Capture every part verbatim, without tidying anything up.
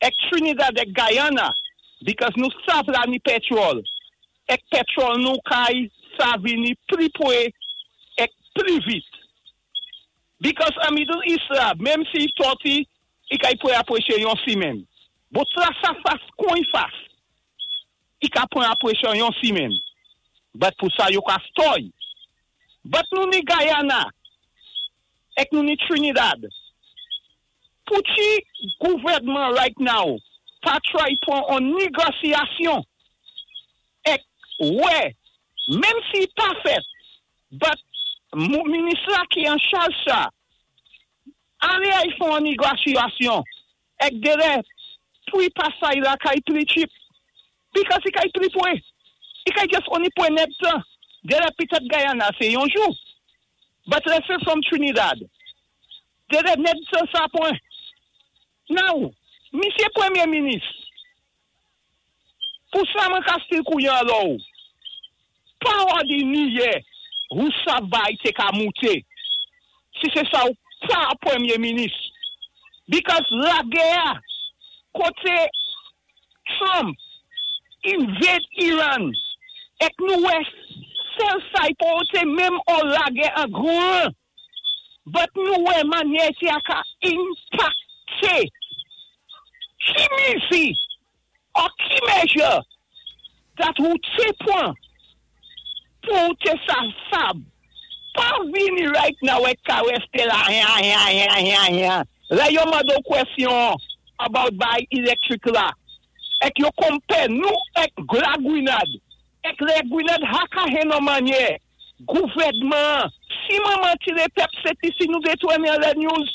Èk Trinidad èk Guyana, because nou sav la ni pétwòl. Èk pétwòl nou kay sa vini pli pwé èk pli vit. Because an Middle East la, menm si tòti, i kay pwé apwéché yon simenn. But la sa fas kon i fas. I ka pwan apwéché yon simenn. But pou sa yo ka stoy. But nou ni Guyana, èk nou ni Trinidad. Pou ti gouvèdman right now, pa try pwan an négosyasyon. Èk, wè, menm si pa fèt, but minis la ki an chaj sa, alé ay fon an négosyasyon, èk déré, pwi pasay la kay pli cheap, because i kay pli pwé, i kay just only pwan nèd tan, déré pitèt Guyana sé yon jou, but let's say from Trinidad, déré nèd tan sa pwan. Now, misyé pwémyé minis, pou sa mwen ka still kouyan lò ou, pa òdinè, ou sa bay té ka mouté, si sé sa ou pa pwémyé minis. Because lagè, koté Trump invade Iran, èk nou wè, sèl sa i pa té menm an lagè an gran, but nou wè manyè ti a ka impakté, ki mizi, or ki measure, that ou té pwan, pou té sa sab, pa vini right now èk ka résté la, ya, ya, ya, ya, ya. Lè yo mando kwèsyon about bay electric la, èk yo konpé nou èk la Gwinad, èk lè Gwinad haka hen an manyè, gouvèdman, si mwen manti lé pèp Sent Lisi nou détounen lè news,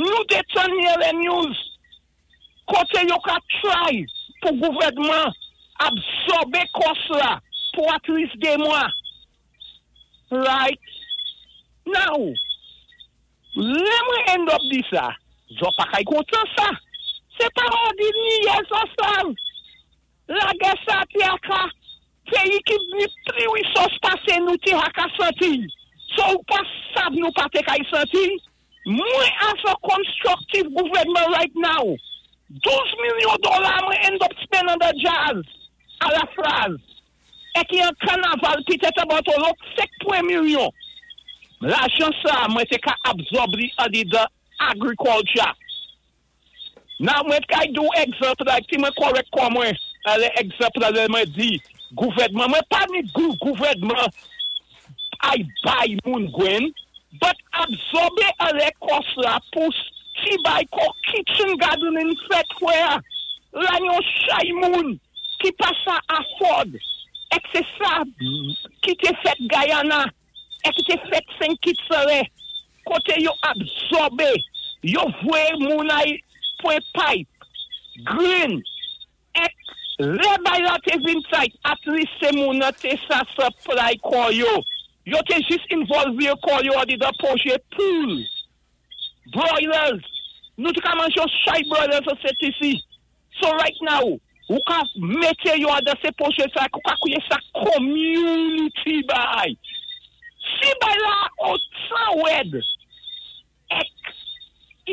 nou détounen lè news, koté yo ka try pou gouvèdman absòbé cost la pou at least dé mwa. Right? Now, lè mwen end up di sa, zo pa kay kontan sa. Sé pa òdinè sa sav. Lagè sa ti aka, péyi ki ni pli resource pasé nou ti haka santi. So ou pa sav nou pa té kay santi. Mwen as a constructive gouvèdman right now, douz milyon dola mwen end up spend on the jazz, a la phrase. Èk yon kanaval pitèt about lòt sèt milyon. Lajan sa, mwen té ka absorb li an the agriculture. Now mwen kay do egzanp la, ki mwen correct kwa mwen, alé egzanp la lè mwen di, gouvèdman, mwen pa ni gou gouvèdman ay bay moun gwenn, but absòbé alé cost la pou ti bay ko kitchen gardening fèt wè, la yon chay moun ki pa sa afford, èk sé sa ki té fèt Guyana, èk ki té fèt Saint Kitts lè, koté yo absòbé, yo vwé moun ay pwen pipe, green, èk lè bay la té vin tight, at least sé moun nan té sa supply kò yo. Yo té jis involve yo kò yo adi da pwojé pool, broilers, nou té ka manjé yon chay broilers an Sent Lisi. So right now, ou ka mété yo adan sé pwojé sa, ou ka kouwé sa community bay. Si bay la otan wèd, èk,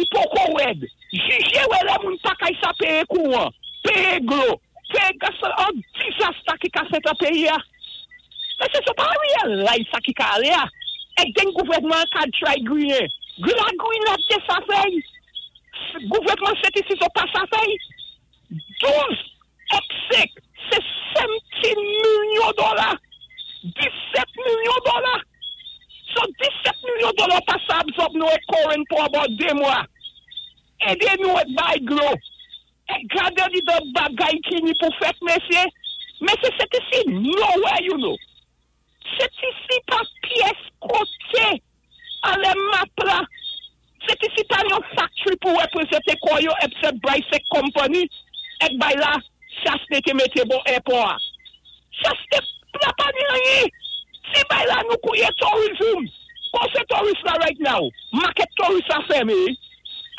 i poko wèd, jijé wè lè moun pa kay sa péyé kouwan, péyé dlo, péyé gas, an disaster ki ka fèt an péyi a. Men sé sa pa realize sa ki ka alé a. Èk den gouvèdman ka try griyen. La Gwinad té sa fèy. Gouvèdman Sent Lisi so pa sa fèy. douz èk senk, sé sèdzen milyon dola. disèt milyon dola. So disèt milyon dola pa sa absorb nou èk current pou about dé mwa. Édé nou èk bay dlo. Èk gadé di de bagay ki ni pou fèt, mesyé. Men sé Sent Lisi nowhere, you know. Sent Lisi pa pyès koté alé map la. Sent Lisi pa yon factory pou wépwézenté kò yo except Brycek Company èk bay la Chastanet té mété bò airport. Chastanet la pa ni anyen. Si bay la nou kouwé tourism. Kon sé tourist la right now. Market tourist la fèmé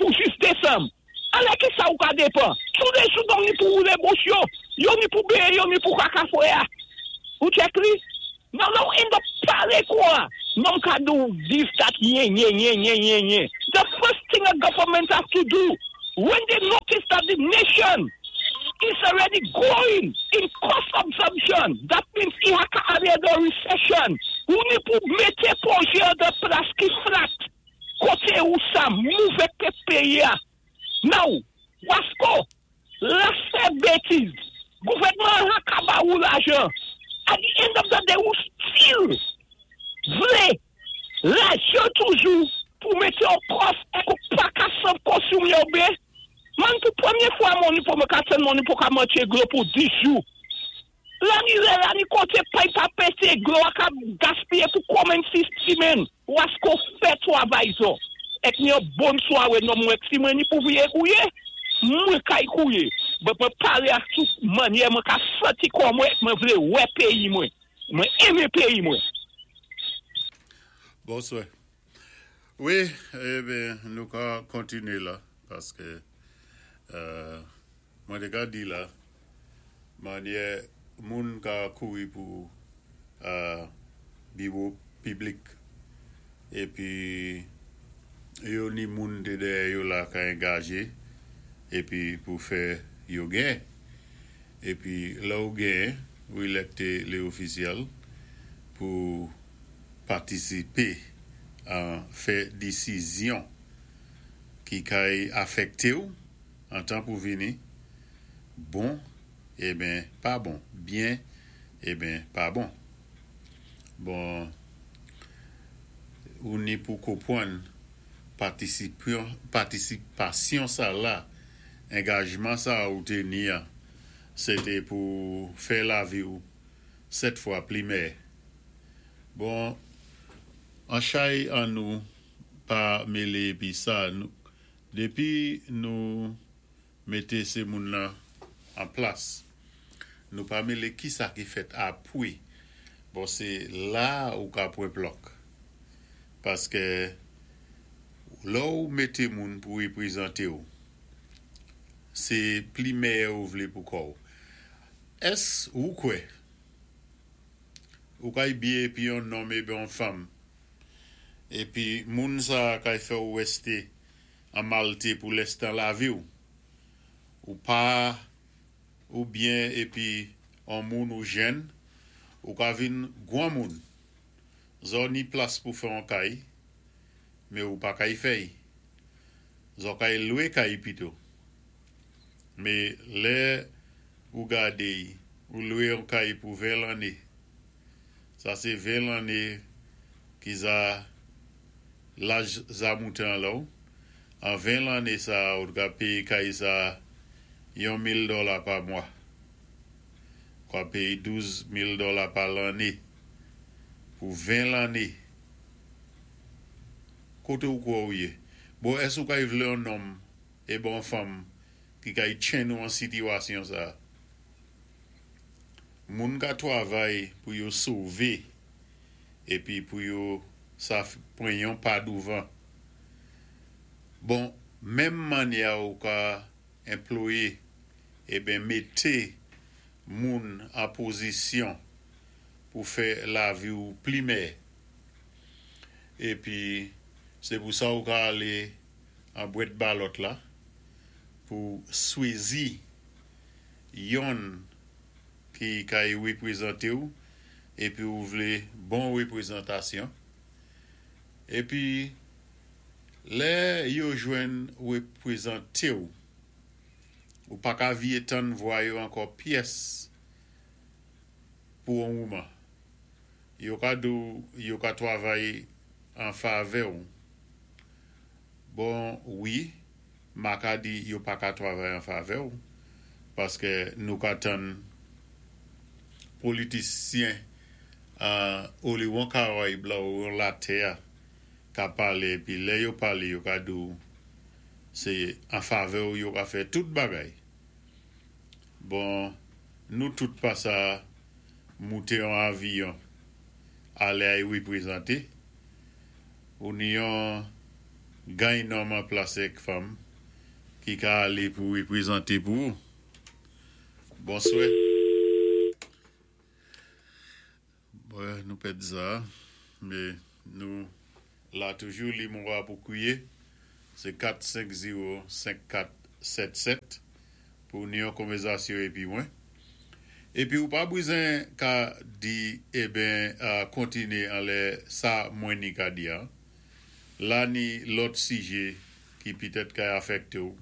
pou jis Désanm. Alé ki sa ou ka dépan? Tou lé jou donk ni pou woulé bouch yo. Yo ni pou béyé, yo ni pou kaka fwé a. Ou check li? Non, non, end up palé kwa. Non ka do this, that, nye, nye, nye, nye, nye, nye. The first thing a government have to do, When they notice that the nation is already going in cost absorption, that means i ka alé dan recession. Ou ni pou mété pwojé an plas ki flat. Koté ou sa mouvé ké péyi. Now, Wasko, la fè bétiz. Gouvèdman an ka ba ou lajan. At the end of the day, ou still vlé lajan toujou pou mété an kòf é ou pa ka san konsonmé yo bé. Man, pou pwémyé fwa moun pou mwen ka ten moun pou ka mantché dlo pou dis jou. La ni lè, la ni koté pay pa pété, dlo a ka gaspiyé pou konmen sis simenn. Wasko fè twavay zo. Ek ni yon bon swaré non mwen si mwen ni pou viyé kouyé, mwen kay kouyé. Mwen mwen palé ak tout manyè, mwen ka santi kon mwen, mwen vlé wè péyi mwen. Mwen enmen péyi mwen. Bonswa. Wi, eh ben, nou ka kontiné la, paské euh, mwen té ka di la, manyè moun ka kouri pou euh, biwo piblik, épi yo ni moun té dèyè yo la ka angajé, épi pou fè yo gen. Épi la ou gen, ou élekté lé ofisyèl pou patisipé an fè désizyon ki kay afèkté ou an tan pou vini bon, eh ben pa bon, byen, eh ben pa bon. Bon, ou ni pou konpwann patisipasyon sa la, angajman sa ou té ni a, sé té pou fè lavi ou sèt fwa pli mèyè. Bon, an chay an nou pa mélé pi sa, nou, dépi nou mété sé moun nan an plas, nou pa mélé ki sa ki fèt apwé. Bon, sé la ou ka pwan plòk. Paské lò ou mété moun pou wépwézanté ou, sé pli mèyè ou vlé pou kò ou. Ès ou kwè? Ou kay byen épi yon nonm épi yon fanm. Épi moun sa kay fè ou wésté an malté pou lèstan lavi ou. Ou pa ou byen épi an moun ou jèn, ou ka vin gwan moun. Zo ni plas pou fè an kay, mé ou pa kay fè'y. Zo kay lwé kay pito. Mé lè ou gadé, ou lwé an kay pou ven lanné. Sa sé ven lanné ki za laj za mouté an la ou. An ven lanné sa ou ka péyé kay sa yon mil dola pa mwa. Ka péyé douz mil dola pa lanné. Pou ven lanné. Koté ou kwè ou yé? Bon, ès ou kay vlé yon nonm é bon fanm ki kay tjenn ou an sitiwasyon sa? Moun ka twavay pou yo sové épi pou yo sa pwan yon pa douvan. Bon, menm manyè ou ka anplwayé é ben mété moun an pozisyon pou fè lavi ou pli mèyè. Épi, sé pou sa ou ka alé an bwat ballot la pou swézi yonn ki kay wépwézanté ou épi ou vlé bon wépwézantasyon. Épi, lè yo jwenn wépwézanté ou, ou pa ka viyé tann vwa yo ankò pyès pou an mouman. Yo ka di ou, yo ka twavay an favè ou. Bon, wi, ma ka di yo pa ka twavay an favè ou, paské nou ka tann politisyen uh, ou li wan Karayib la ou an latè ka palé, pi lè yo palé, yo ka di ou, sé an favè ou yo ka fè tout bagay. Bon, nou tout pa sa mouté an avyon alé ay wépwézanté. Ou ni yon gay nonm an plas èk fanm ki ka alé pou wépwézanté pou ou. Bonswè. Bon, nou pèd sa, mé nou la toujou li moun pou kwiyé. Sé kat senk zewo senk kat sèt sèt pou ni yon konvèzasyon épi mwen. Épi ou pa bizen ka di eben uh, kontinié anlè sa mwen ni ka di an. La ni lòt sijè ki pitèt ka afèkté ou.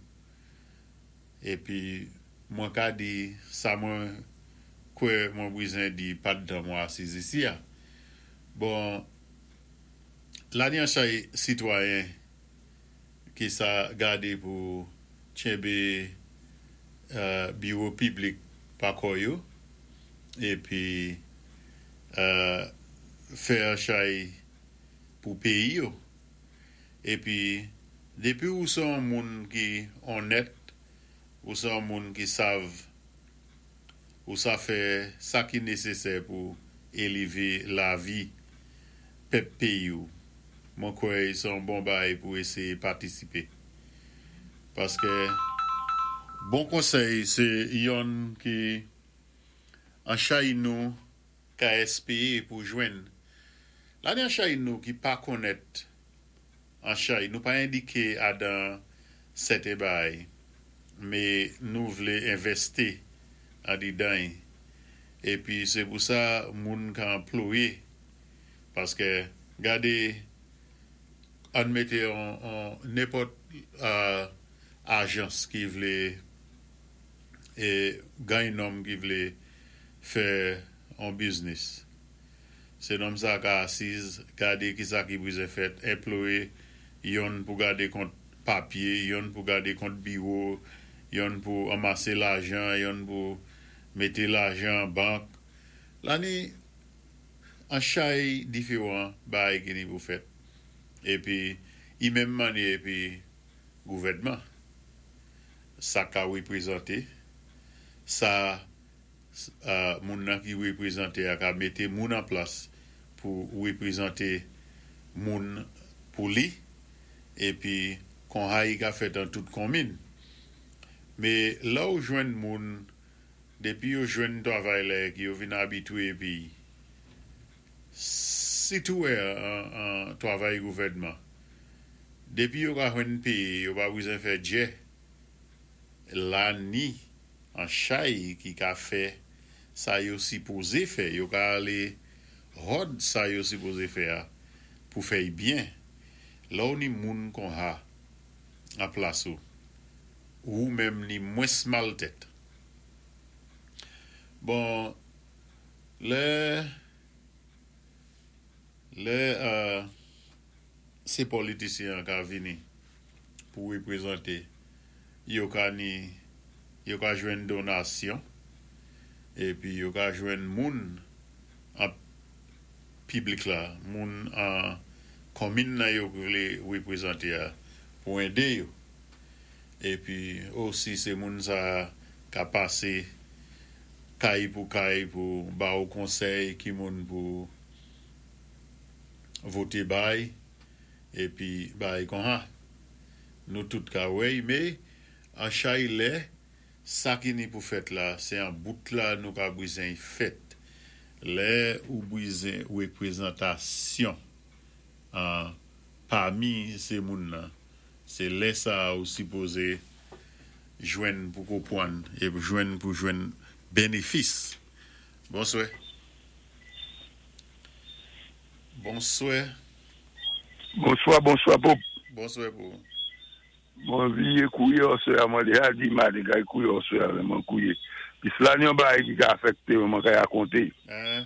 Épi mwen ka di sa mwen kwè mwen bizen di pandan mwen asiz isi a. Bon, la ni an chay sitwayen ki sa gadé pou tchenbé uh, biwo piblik pa kò yo épi uh, fè an chay pou péyi yo. Épi dépi ou sé an moun ki onnèt, ou sé an moun ki sav ou sa fè sa ki nésésè pou élévé lavi pèp péyi ou. Mwen kwè sé an bon bay pou éséyé patisipé. Paské bon konsèy sé yonn ki an chay nou ka èspéwé pou jwenn. La ni an chay nou ki pa konnèt an chay, nou pa endiké adan sèten bay, mé nou vlé envèsti andidan. Épi sé pou sa moun ka anplwayé. Paské gadé ann mété an, an nenpòt uh, ajans ki vlé é gen nonm ki vlé fè an biznis. Sé nonm sa ka asiz, gadé ki sa ki bizen fèt, anplwayé yonn pou gadé kont papyé, yonn pou gadé kont biwo, yonn pou anmasé lajan, yonn pou mété lajan an bank. La ni an chay diféwan bay ki ni pou fèt. Épi, i menm mannyè épi gouvèdman. Sa ka wépwézanté, sa uh, moun nan ki wépwézanté a ka mété moun an plas pou wépwézanté moun pou li, épi kon hay ka fèt an tout konmin. Mé la ou jwenn moun, dépi yo jwenn twavay la ki yo vin abitwé épi sitou an, an twavay gouvèdman, dépi yo ka jwenn péyé, yo pa bizen fè djè. La ni an chay ki ka fè sa yo sipozé fè, yo ka alé hòd sa yo sipozé fè a pou fè byen. La ou ni moun kon ha an plas ou, ou menm ni mwens mal tèt. Bon, lè lè uh, sé politisyen ka vini pou wépwézanté, yo ka ni yo ka jwenn donasyon épi yo ka jwenn moun an piblik la, moun an konmin nan yo vlé wépwézanté a pou édé yo. Épi osi sé moun sa ka pasé kay pou kay pou ba ou konsèy ki moun pou voté bay épi bay kon ha. Nou tout ka wèy, mé an chay lè, sa ki ni pou fèt la, sé an bout la nou ka bizen fèt. Lè ou bizen wépwézantasyon an pami sé moun nan, sé lè sa ou sipozé jwenn pou konpwann é jwenn pou jwenn bénéfis. Bonswè. Bonswè. Bonswa, bonswa, Bob. Bonswè pou. Mwen vié kouwé oswè a, mwen déja di maden kay kouwé oswè a, mwen kouwé. Pis la ni yon bagay ki ka afèkté mwen kay akonté. Hein?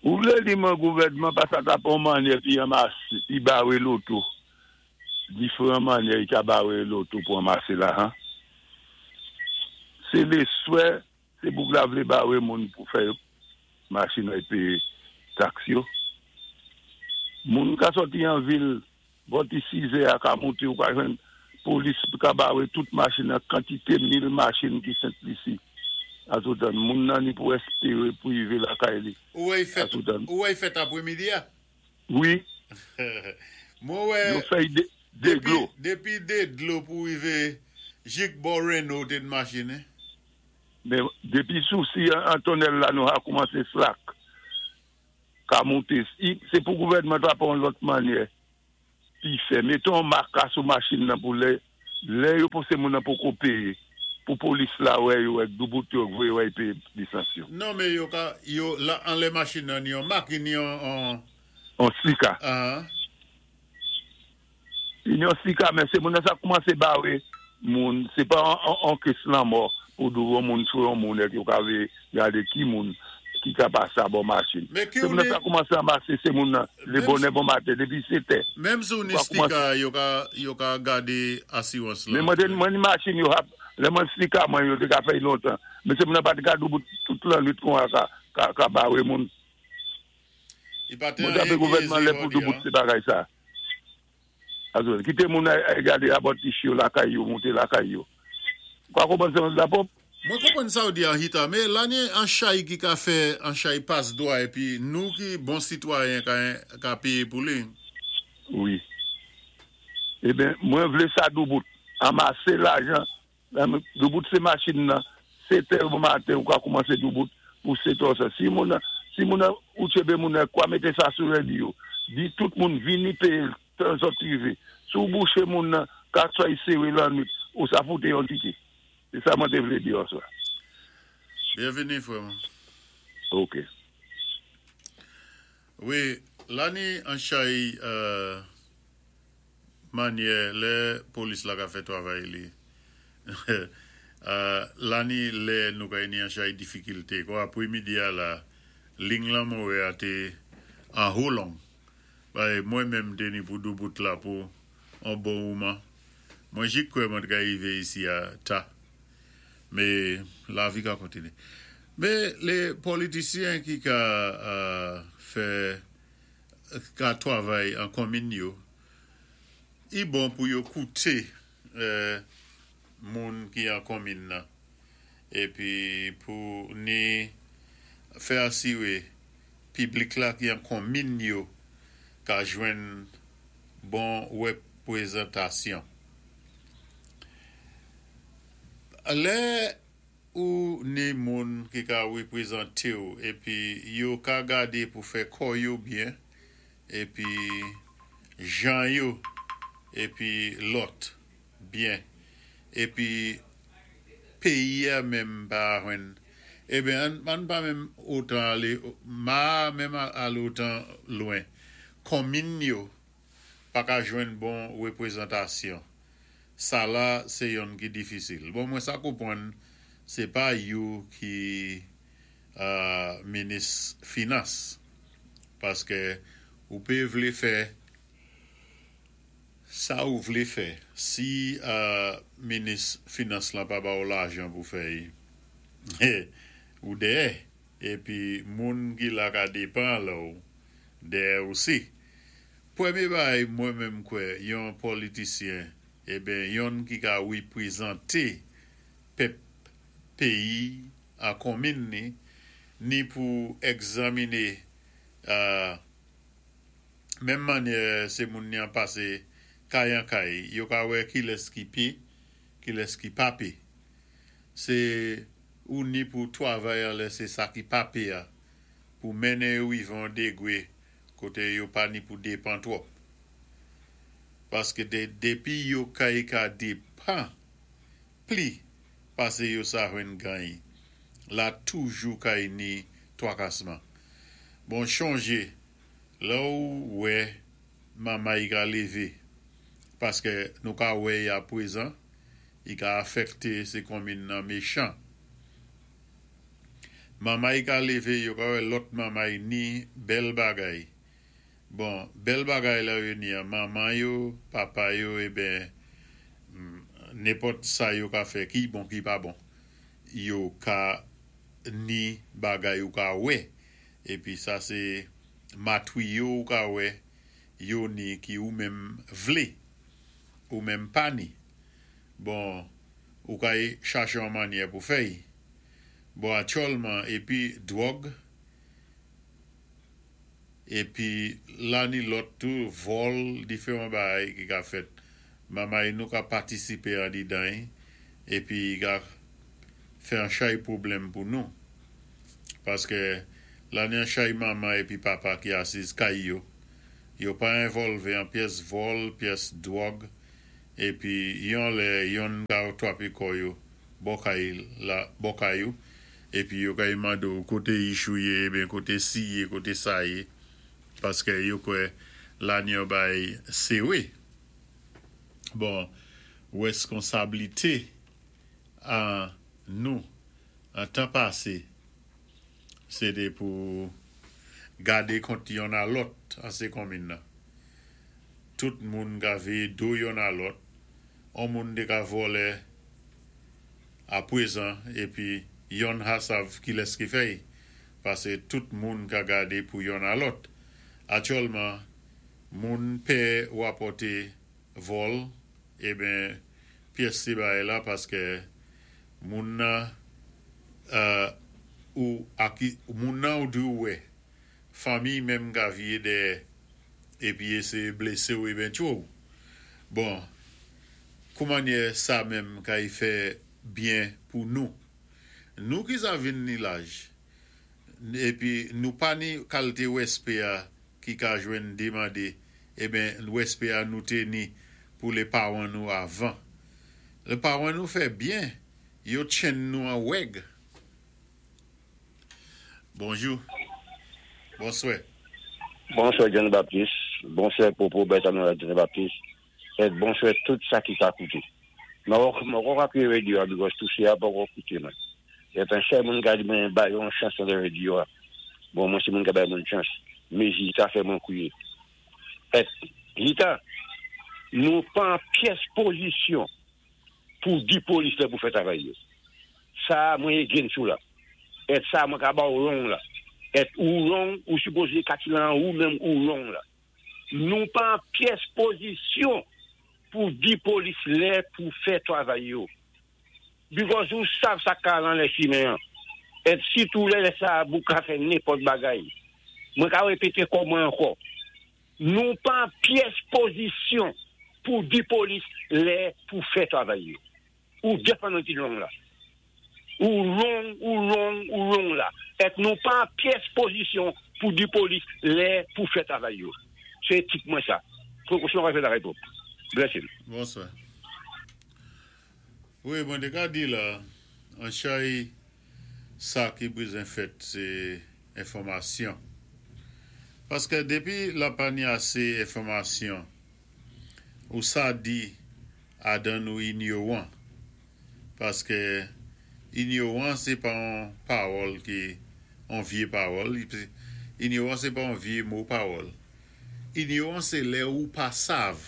Ou vlé di mwen gouvèdman pa sa ta pwan mannyè pi anmasé, pi bawé loto. Diféwan mannyè i ka bawé loto pou anmasé lajan. Sé léswè, sé boug la vlé bawé moun pou fè machin ay péyé taks yo. Moun ka sòti an vil, bòti sizè a ka monté ou ka jwenn polis ka bawé tout machin an kantité mil machin ki Sent Lisi. Asoutan, moun nan ni pou èspéwé pou yivé lakay li. Ou wè fèt, Asoutan. Ou wè fèt apwémidi a? Wi, Mwen wè, yo fèy dé, dé dépi, dlo. Dépi dé dlo pou yivé jik bò Reno té machin, eh? Men dépi sousi an, an tonnèl la nou a koumansé slack. Ka monté. I- Sé pou gouvèdman ta pwan lòt mannyè. Pi fè. Méton maka sou machin nan pou lè Lè yo pansé moun nan poko péyé, pou polis la wè yo ak doubout yo voyé yo péyé lisans yo. Non, mé yo ka yo la anlè machin nan ni yon mak ni yon an On sticker. Ah. Yon sticker, men sé moun nan sa koumansé bawé moun, sé pa an, an kes lanmò pou dou moun sou yon moun ek yo ka vé gadé ki moun ki ka pasé a bò machin. Mé ki Sé moun nan ou sa koumansé anmasé, sé moun nan lé Menm bonè bon maten dépi sèt è. Menm sou ni Wa koumansé sticker yo ka yo ka gadé asirans Mé la. mwen mwen ni machin yo hap, lè mwen sticker mwen yo té ka fè lontan. Mé sé moun nan pa té ka doubout tout lannwit kon a ka, ka, ka bawé moun. I pa té Mwen tapé anyen ki gouvèdman ézé lè pou yo di, doubout hein. sé bagay sa. Azol, kité moun ay, ay gadé abot ti yo lakay yo, monté lakay yo. Kwa konpwann sé la pop? Mwen konpwann sa ou di an hita, mé la ni an chay ki ka fè, an chay pas dwa, épi nou ki bon sitwayen ka, ka péyé pou li. Wi. Eben, mwen vlé sa doubout. Anmasé lajan, doubout sé machin nan, sèt è bon maten ou ka koumansé doubout pou sèt è sa. Si moun nan, si moun nan ou tchébé moun nan, kwa mété sa sou radyo, di tout moun vini péyé tan sot rivé. Sou bouché moun nan, ka soy séwé lannwit, ou sa fouté yon tike. Sé sa mwen té vlé di aswè. Byenvini, frè. Ok. Wi, la ni an chay euh, mannyè, lè polis la ka fè twavay li. euh, la ni lè nou ka ni an chay difikilté. Kwa apwémidi a la, ling lan mwen a té an houlong. Bay, mwen menm té ni pou doubout la pou an bon mouman. Mwen jik kwè mwen te ka rivé isi a ta. Mé lavi ka kontiné. Mé lé politisyen ki ka euh, fè ka twavay an konmin yo, i bon pou yo kouté euh, moun ki an konmin nan. Épi pou ni fè asiwé piblik la ki an konmin yo ka jwenn bon wépwézantasyon. Lè ou ni moun ki ka wépwézanté ou épi yo ka gadé pou fè kò yo byen épi jan yo épi lòt byen épi péyi a menm pa jwenn eben an, an pa menm otan alé ma menm alé otan lwen konmin yo pa ka jwenn bon wépwézantasyon. Sa la, sé yonn ki difisil. Bon, mwen sa konpwann, sé pa yo ki euh, minis finans. Paské ou pé vlé fè sa ou vlé fè. Si euh, minis finans lan pa ba ou lajan pou fè ou déyè, épi moun ki la ka dépan la ou, déyè osi. Pwémyé bagay mwen menm kwè, yon politisyen, eben yonn ki ka wépwézanté pèp péyi a konmin ni, ni pou egzaminé euh, menm mannyè sé moun ni an pasé kay an kay, yo ka wè ki lès ki pé, ki lès ki pa pé. Sé ou ni pou twavay an lè sé sa ki pa pé a, pou mennen yo rivé an dégwé koté yo pa ni pou dépan twòp. Paské dé, dépi yo kay ka dépan pli pasé yo sa jwenn gany, la toujou kay ni twakasman. Bon, chonjé, la ou wè mamay ka lévé, paské nou ka wè ya pwézan, i ka afekté sé konmin nan méchan. Mamay ka lévé, yo ka wè lòt mamay ni bèl bagay. Bon, bèl bagay la yo ni an, manman yo, papa yo, eben, nenpòt sa yo ka fè ki bon ki pa bon. Yo ka ni bagay yo ka wè, épi sa sé matwiyo ou ka wè, yo ni ki ou menm vlé, ou menm pa ni. Bon, ou ka chaché an mannyè pou fè y. Bon, aktyèlman, épi dwòg, épi la ni lòt tou, vòl, diferan bagay ki ka fèt. Mamay nou ka patisipé an didan, épi ka fè an chay pwoblèm pou nou. Paské la ni an chay manman épi papa ki asiz kay yo, yo pa envòlvé an pyès vòl, pyès dwòg, Épi yon lè yon ka twapé kò yo bò kay la bò kay ou épi yo kay mandé ou koté ichou yé, ben koté si yé, koté sa yé paské yo kwè la ni yon bay séwé. Bon, wèskonsablité an nou an tan pasé sé té pou gadé kont yonn a lòt an sé konminn nan. Tout moun ka véyé do yonn a lòt, on moun té ka vòlè a pwézan épi yonn ka sav kilès ki fè pasé tout moun ka gadé pou yonn a lòt. Aktyèlman, moun pè wapòté vòl eben pyès ti bagay la paské moun nan euh, ou aki, moun nan ou dwe wè fanmi menm ka viyé dèyè épi éséyé blésé ou eben tchwé ou. Bon, kouman sa menm kay fè byen pou nou? Nou ki sa vin ni laj, épi nou pa ni kalité wèspè a ki ka jwenn demandé, eben wèspè a nou té ni pou lé pawan nou avan. Lé pawan nou fè byen, yo tchenn nou an wèg. Bonjou. Bonswè. Bonswè John Baptiste, bonswè Popo Bertrand John Baptiste, é bonswè tout sa ki ka kouté. Mwen poko apwiyé radyo a because touché a poko kouté mwen. É pi sèl moun ka di mwen bay yon chans nan radyo a. Bon, mwen sé moun ki bay moun chans. Mé Zita fè mwen kwiyé. É Zita, nou pa an pyès pozisyon pou di polis la pou fè travay yo. Sa mwen against ou la. É sa mwen ka ba ou wrong la. É ou wrong ou sipozé katilan ou menm ou wrong la. Nou pa an pyès pozisyon pou di polis lè pou fè travay yo. Because ou sav sa ka lan lè chimen. É sitou lè sa bou ka fè nenpòt bagay. Mwen ka wépété kò mwen ankò. Nou pa an pyès pozisyon pou di polis lè pou fè travay yo. Ou definitely wrong la. Ou wrong, ou wrong, ou wrong la. É nou pa an pyès pozisyon pou di polis lè pou fè travay yo. Sé tip mwen sa. Pwékosyon va fè la réponse. Bless you. Bonswè. Wi, mwen té ka di la, an chay sa ki bézwen fèt, sé enfòmasyon. Paské dépi la pa ni asé enfòmasyon, ou sa di adan nou inyowan. Paské inyowan, sé pa an pawòl ki an vyé pawòl. Inyowan, sé pa an vyé mo pawòl. Inyowan, sé lè ou pa sav.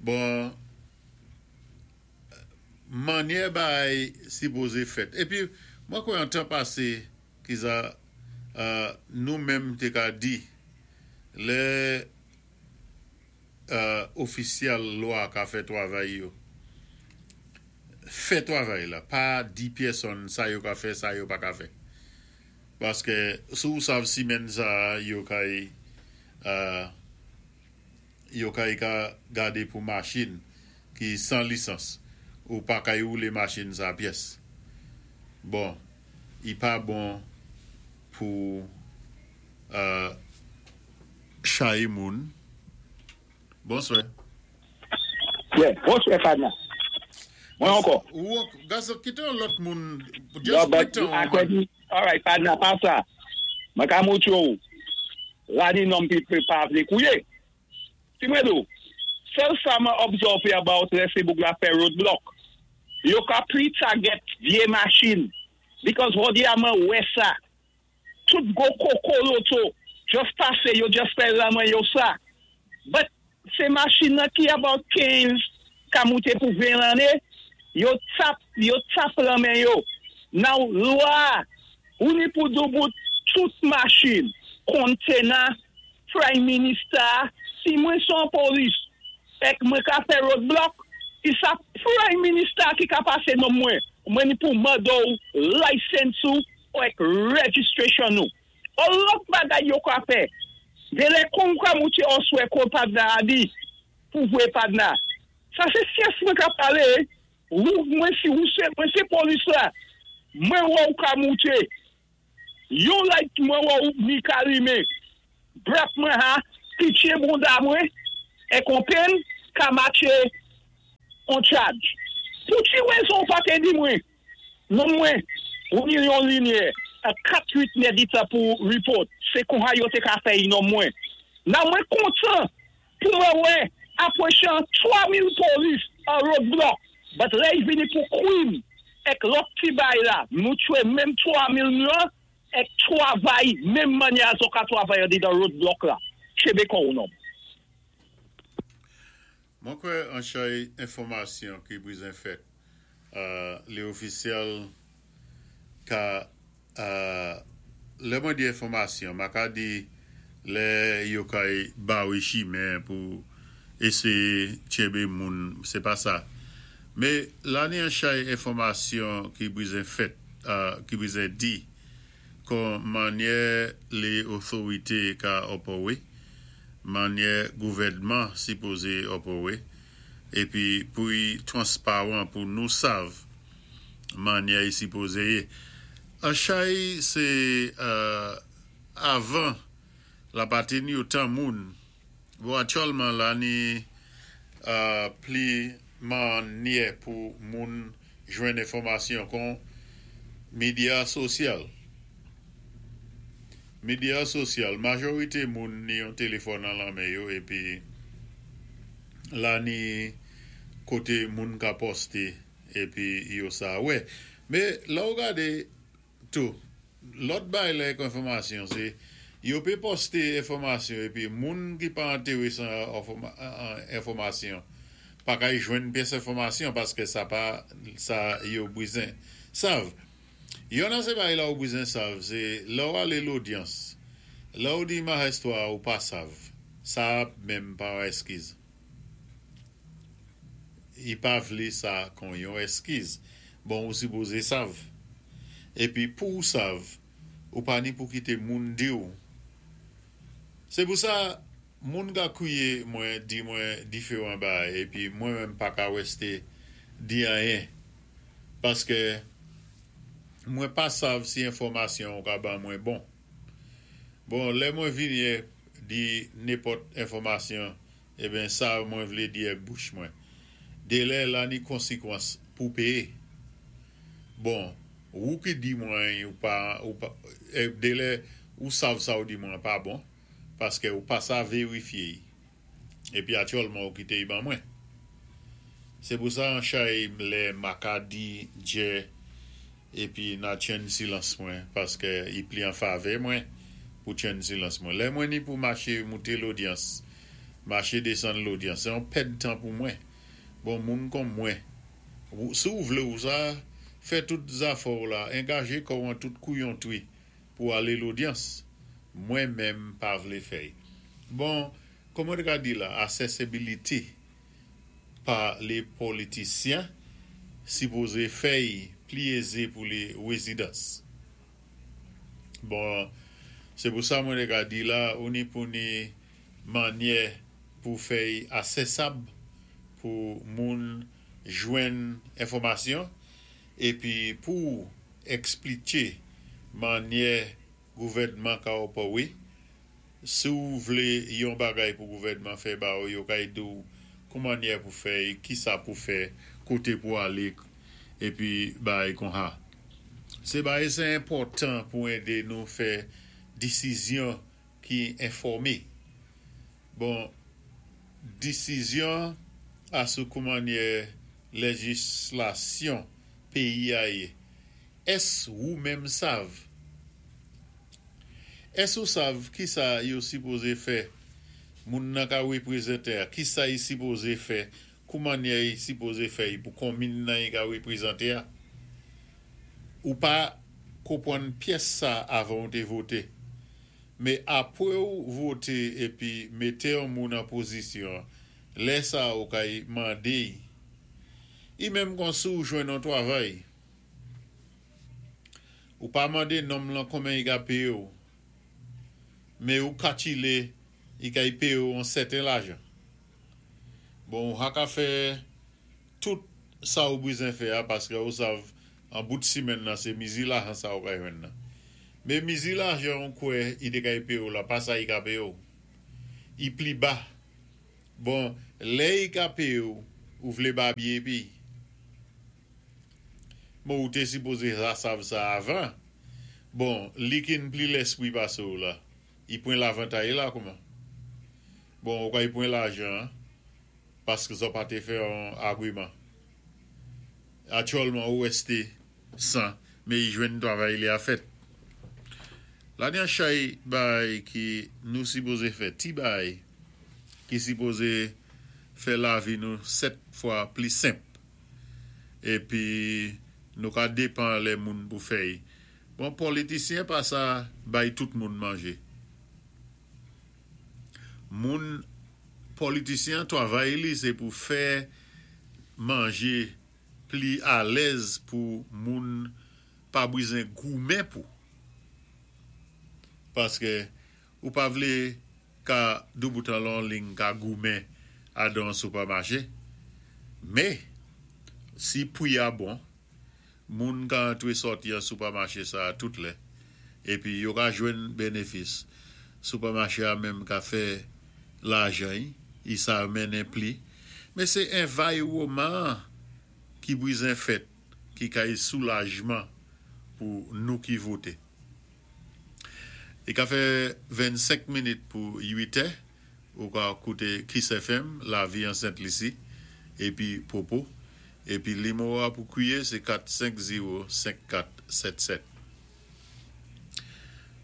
Bon, mannyè bagay sipozé fèt. Épi, mwen kwè an tan pasé, ki sa, euh, nou menm té ka di, lè euh, ofisyèl lwa ka fè travay yo, fè travay la, pa di pèsonn sa yo ka fè, sa yo pa ka fè. Paské si ou sav simenn sa yo kay euh, yo kay ka gadé pou machin ki san lisans ou pa kay woulé machin sa pyès. Bon, i pa bon pou euh, chay moun. Bonswè. Yeah, bonswè Fadna. Mwen ankò. Ou, gason, kité yon lòt moun. No, Just but kité yon akwe di, alright, Fadna, pa sa. Mwen ka moutou ou. La ni nom pi pe pa vle kouye. Si mwen do, sèl sa mwen observe about lè sé boug la fè roadblock. Yo ka pli target vyé machin. Because jodi a mwen wè sa. Tout go koko loto, just pasé, yo just fè la mwen yo sa. But, sé machin nan ki about kenz ka mouté pou ven lanné, yo tap, yo tap la men yo. Now, lwa, ou ni pou doubout tout machin, kontena, prime minister, si mwen son polis, ek mwen ka fè roadblock, i sa prime minister ki ka pasé nan mwen, mwen ni pou mando license ou, ou ek registration nou. Ou lòt bagay yo ka fè, de lè kon ka mouti oswe kon padna a di, pou vwe padna. Sa se syes mwen ka pale, ou mwen si ou se, mwen se polis la, mwen wè ou ka mouti, yon light mwen wè ou ni ka lime, brap mwen ha, pitye bonda mwen, Èk on pen ka matché on charge. Pou ki wézon pa té di mwen, non mwen, ou ni yon linyè, a kat-uit nèd-tan pou report, sé kon yo té ka fè non mwen. Nan mwen kontan pou mwen wè apwochan twa mil polis an roadblock, but lè y vini pou kwim èk lòt ti bay la, nou tchwé menm twa mil nou èk twavay, menm mannyè zo ka twavay an roadblock la. Tchébé kò'w non. Mwen kwè an chay enfòmasyon ki bizwen fèt, euh, lé ofisyèl ka, euh, lè mwen di enfòmasyon, ma ka di lè yo kay bawe chimen pou éséyé tchébé moun, sé pa sa. Mé la ni an chay enfòmasyon ki bizwen fèt, euh, ki bizwen di, kon mannyè lé otorité ka opéwé, mannyè gouvèdman sipozé opéwé, épi pou y transpawan pou nou sav mannyè y sipozé yé. An chay sé euh, avan la pa té ni otan moun, bon, aktyèlman la ni euh, pli mannyè pou moun jwenn enfòmasyon kon medya sosyal. Medya sosyal, majorité moun ni yon téléfòn nan la men yo, épi la ni koté moun ka posté, épi yo sa wè. Mé la ou gadé tou, lòt bay lè enfòmasyon sé, yo pé posté enfòmasyon épi moun ki pa entéwésé an enfòmasyon, pa kay jwenn pyès enfòmasyon paské sa pa sa yo bizwen sav. Yon nan sé bay la ou bizwen sav, sé lè ou alé lodyans, lè ou di mahestwa ou pa sav, sa menm pa yon eskiz. I pa vlé sa kon yon eskiz. Bon, ou sipozé sav. Épi pou ou sav, ou pa ni pou kité moun di ou. Sé pou sa, moun ka kwiyé mwen di mwen diféwan bay, épi mwen menm pa ka wésté di anyen. Paské mwen pa sav si enfòmasyon ou ka ban mwen bon. Bon, lè mwen vini di nenpòt enfòmasyon, eben sa mwen vlé di ak bouch mwen. Délè la ni konsékwans pou péyé. Bon, ou ki di mwen ou pa, ou pa, eh, délè ou sav sa ou di mwen pa bon, paské ou pa sa vérifié. Épi aktyèlman ou kité y ban mwen. Sé pou sa an chay lè ma ka di djè épi nan tjenn silans mwen, paské i pli an favè mwen pou tjenn silans mwen. Lè mwen ni pou maché mouté lodyans, maché désann lodyans, sé yon pèd tan pou mwen. Bon, moun kon mwen, ou, si ou vlé ou sa, fè tout zafè ou la, angajé kò'w an tout kouyontwi pou alé lodyans. Mwen menm pa vlé fè. Bon, kòman ka di la, accessibility pa lé politisyen sipozé fè pli ézé pou lé residents. Bon, sé pou sa mwen ka di la, ou ni pou ni mannyè pou fè asesab pou moun jwenn enfòmasyon épi pou ekspliké mannyè gouvèdman ka opéwé. Si ou vlé yon bagay pou gouvèdman fè ba ou, yo kay di ou koumannyè pou fè, ki sa pou fè, koté pou alé, épi bay kon ha. Sé bay sé enpòtan pou édé nou fè désizyon ki enfòmé. Bon, désizyon asou koumannyè léjislasyon péyi a yé. Ès ou menm sav? Ès ou sav ki sa yo sipozé fè moun nan ka wépwézanté a? Ki sa yi sipozé fè? Koumannyè yi sipozé fè pou konmin nan yi ka wépwézanté a? Ou pa konpwann pyès sa avan ou té voté. Mé apwé ou voté épi mété yon moun an pozisyon, lè sa ou kay mandé. I menm kon si ou jwenn yon twavay. Ou pa mandé nonm lan konmen i ka péyé ou. Mé ou kakilé i kay péyé ou an sèten lajan. Bon, ou ha ka fè tout sa ou bizwen fè a, paské ou sav an bout simenn nan sé mizi lajan sa ou kay jwenn nan. Mé mizi lajan ou kwè i dé kay péyé ou la, pa sa i ka péyé ou. I pli ba. Bon, lè i ka péyé ou, ou vlé babyé épi. Bon, ou té sipozé sa sav sa avan. Bon, li ki-n pli léspwi pasé ou la. I pwan lavantay la kouman? Bon, ou ka i pwan lajan, paski zòt pa té fè an agwiman. Aktyèlman ou wèsté san, mé i jwenn twavay li a fèt. La ni an chay bay ki nou sipozé fè, ti bay ki sipozé fè lavi nou sèt fwa pli senp. Épi nou ka dépan lè moun pou fè y. Bon, politisyen pa sa bay tout moun manjé. Moun politisyen twavay li sé pou fè manjé pli alèz pou moun pa bizwen goumen pou. Paski ou pa vlé ka dwoutan lan ling ka goumen adan sipèmaché. Mé, si pwi a bon, moun ka antré sòti an sipèmaché sa tout lè. Épi yo ka jwenn bénéfis. Sipèmaché a menm ka fè lajan, i sa mennen pli. Mé sé anviwonman ki bizwen fèt, ki kay soulajman pou nou ki voté. I ka fè vennsenk minit pou uit è, ou ka kouté Kiss F M, Lavi an Sent Lisi, épi Popo, épi nimewo a pou kwiyé, sé kat senk zewo senk kat sèt sèt.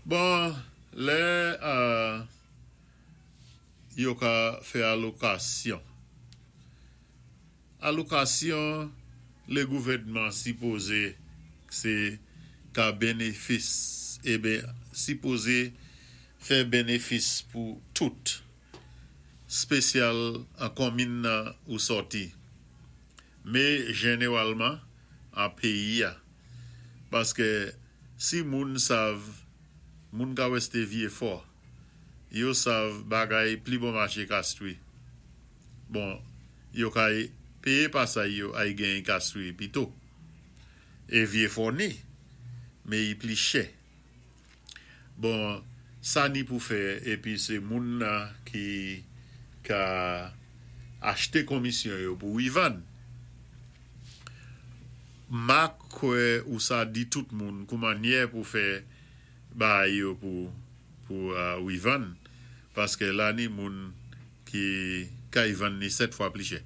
Bon, lè euh, yo ka fè alokasyon. Alokasyon, lé gouvèdman sipozé sé ka bénéfis, ébyen, sipozé fè bénéfis pou tout. Spésyal an konmin nan ou sòti. Mé jénéwalman an péyi a. Paski si moun sav, moun ka wèsté Vyé Fò, yo sav bagay pli bon maché Castries. Bon, yo kay péyé pasay yo ay genyen Castries pito. É Vyé Fò ni, mé i pli chè. Bon, sa ni pou fè, épi sé moun nan ki ka achté komisyon yo pou i vann. Ma kwè ou sa di tout moun kouman nyè pou fè bay yo pou pou uh, ou i vann, paski la ni moun ki kay vann ni sèt fwa pli chè.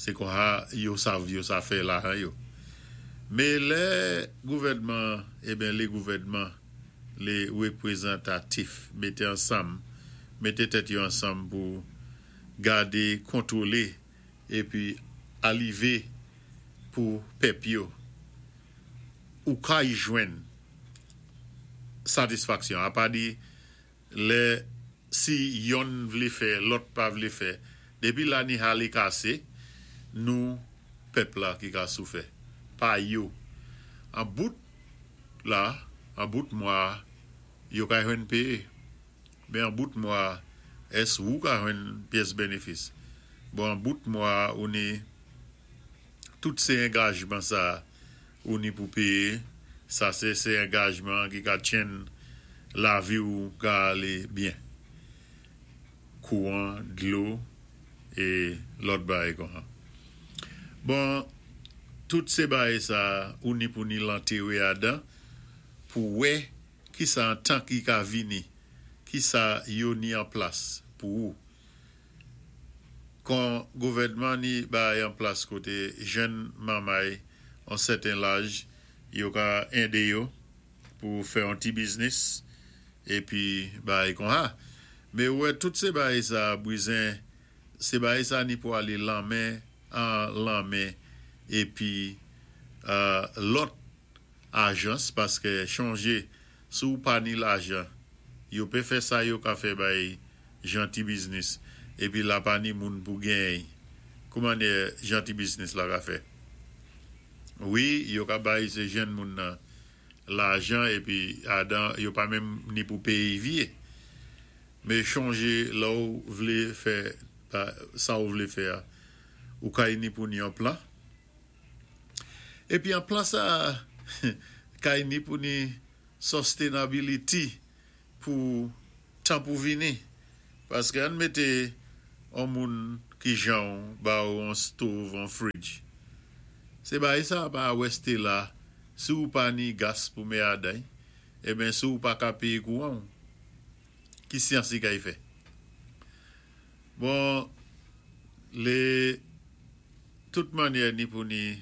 Sé kon-sa yo sav yo sa fè lajan yo. Mé lè gouvèdman, ébyen lé gouvèdman, lé wépwézantatif mété ansanm, mété tèt yo ansanm pou gadé, kontwolé, épi alivé pou pèp yo, ou kay jwenn satisfaksyon. A pa di, lè si yonn vlé fè, lòt pa vlé fè, dépi la ni halé kasé, nou pèp la ki ka soufè. Pa yo. An bout la, an bout mwa, yo ka jwenn péyé. Mé an bout mwa, ès ou ka jwenn pyès bénéfis? Bon, an bout mwa, ou ni tout sé angajman sa ou ni pou péyé, sa sé sé angajman ki ka tjenn lavi ou ka alé byen. Kouwan, dlo, é lòt bagay kon. Bon, tout sé bagay sa ou ni pou ni lantéwé adan pou wè ki sa an tan ki ka vini, ki sa yo ni an plas pou ou. Kon gouvèdman ni bay an plas koté jenn manmay an sèten laj, yo ka édé yo pou fè an ti biznis épi bay kon ha. Mé wè tout sé bagay sa bizwen, sé bagay sa ni pou alé lanmen an lanmen épi euh, lòt ajans, paski chonjé sou pa ni lajan, yo pé fè sa yo ka fè bay jan ti biznis épi la pa ni moun pou genyen. Kouman jan ti biznis la ka fè? Wi, yo ka bay sé jenn moun nan lajan épi adan yo pa menm ni pou péyé vyé. Mé chonjé la ou vlé fè sa ou vlé fè ou kay ni pou ni an plan. Épi an plan sa kay ni pou ni sustainability pou tan pou vini. Paski an mété On moun ki jan ba ou an stove, an fridge. Sé bagay sa pa wèsté la, si ou pa ni gas pou mé aday, eben si ou pa ka péyé kouwan, ki syans i kay fè? Bon, lé tout mannyè ni pou ni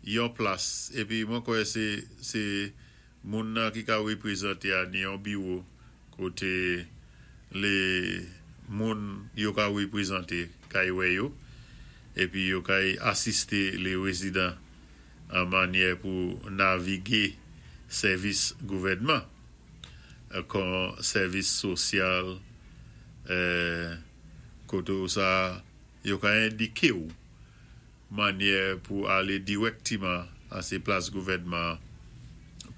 yon plas, épi mwen kwè sé sé moun nan ki ka wépwézanté a ni yon biwo koté lé moun yo ka wépwézanté kay wè yo, épi yo kay asisté lé wézidan an mannyè pou navigé sèvis gouvèdman, kon sèvis sosyal, euh, koté sa yo ka endiké ou mannyè pou alé dirèkteman a sé plas gouvèdman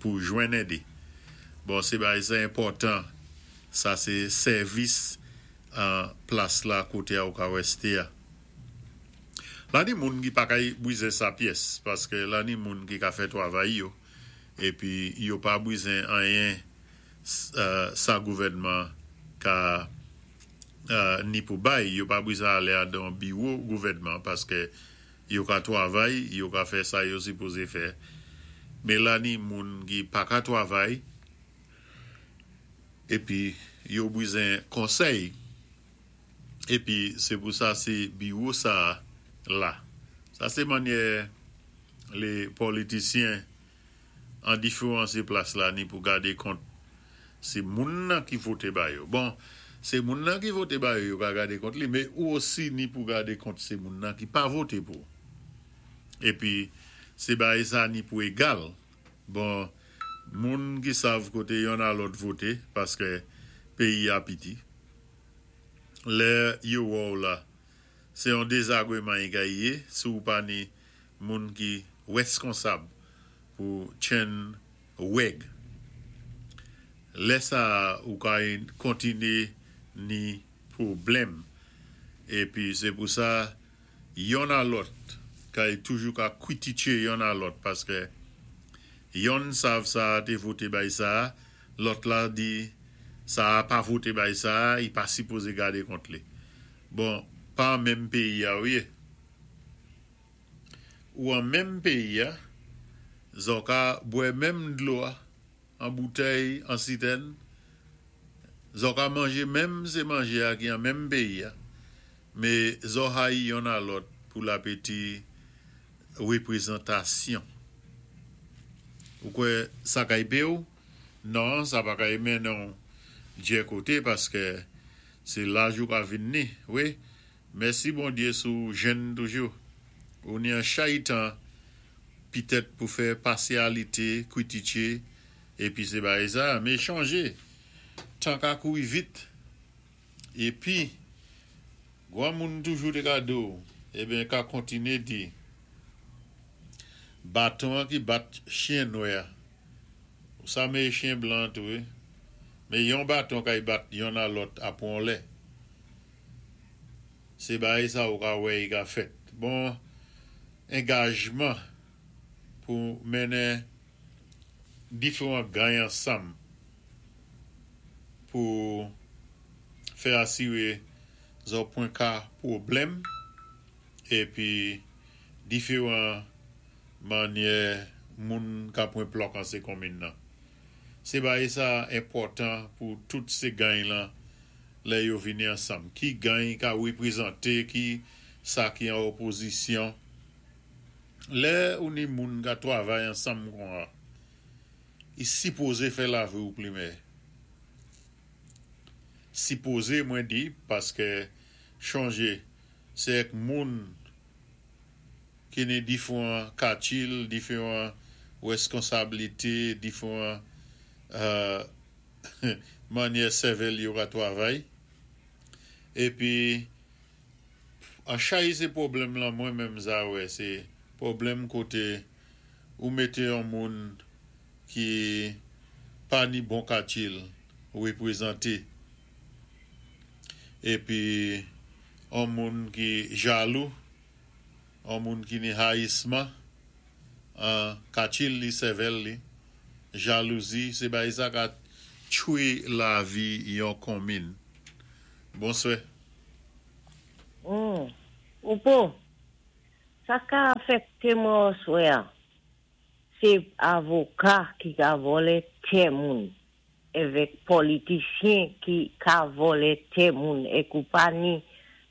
pou jwenn èd. Bon, sé bagay sa enpòtan, sa sé sèvis an plas la koté a ou ka wèsté a. La ni moun ki pa kay bwizé sa pyès, paské la ni moun ki ka fè twavay yo, épi yo pa bwizé anyen euh, sa gouvèdman ka euh, ni pou bay, yo pa bwizé alé adan biwo gouvèdman, paské yo ka twavay, yo ka fè sa yo sipozé fè. Mé la ni moun ki pa ka twavay, épi yo bwizé konsèy, épi sé pou sa sé biwo sa la. Sa sé mannyè lé politisyen an diferan sé plas la ni pou gadé kont sé moun nan ki voté ba yo. Bon, sé moun nan ki voté ba yo, yo ka gadé kont li, mé ou osi ni pou gadé kont sé moun nan ki pa voté pou. Épi, sé bagay sa ni pou égal. Bon, moun ki sav koté yonn a lòt voté, paské péyi a piti. Lè yo wè ou la, sé yon dézagwéman i ka yé, si ou pa ni moun ki wèskonsab pou tjenn wèg. Lè sa ou ka kontiné ni pwoblèm. Épi sé pou sa, yonn a lòt, kay toujou ka kwitiké yonn a lòt, paské yonn sav sa té voté bay sa, lòt la di sa pa voté bay sa, i pa sipozé gadé kont li. Bon, pa menm péyi a ou yé. Ou an menm péyi a, zò ka bwè menm dlo a, an boutèy, an sitèn, zò ka manjé menm sé manjé a ki an menm péyi a, mé zò hayi yonn a lòt pou lapéti wépwézantasyon. Ou kwè sa kay pé ou? Non, sa pa kay mennen djè koté paské sé laj ou ka vin ni. Wi, mèsi Bondyé si ou jenn toujou. Ou ni an chay tan pitèt pou fè pasyalité, kwitiké, épi sé bagay sa, mé chanjé. Tan ka kouri vit. Épi, gwan moun toujou té ka di ou, eben ka kontiné di, baton an ki bat chyen nwè, ou sa mé chyen blan tou, wi. Mé yon baton kay bat yonn a lòt apwon lè. Sé bagay sa ou ka wè i ka fèt. Bon, angajman pou mennen diferan gany ansanm pou fè asiré zò pwen ka pwoblèm épi diferan mannyè moun ka pwan plòk an sé konmin nan. Sé bagay sa enpòtan pou tout sé gany lan lè yo vini ansanm. Ki gany ka wépwézanté, ki sa ki an opozisyon. Lè ou ni moun ka twavay ansanm kon a, i sipozé fè lavi ou pli mèyè. Sipozé mwen di, paské chanjé, sé èk moun ki ni diferan katil, diferan wèskonsablité, diferan euh, mannyè sèvèl yo ka twavay. Épi, an chay sé pwoblèm lan mwen menm za wè, sé pwoblèm koté ou mété yon moun ki pa ni bon katil wépwézanté. Épi, an moun ki jalou, an moun ki ni hayisman, an katil li sèvèl li, jalouzi, sé bagay sa ka tchwé lavi yon konmin. Bonswè. Mm. Popo, sa ka afèkté mwen aswè a, sé avoka ki ka vòlè tè moun, avèk politisyen ki ka vòlè tè moun, é ou pa ni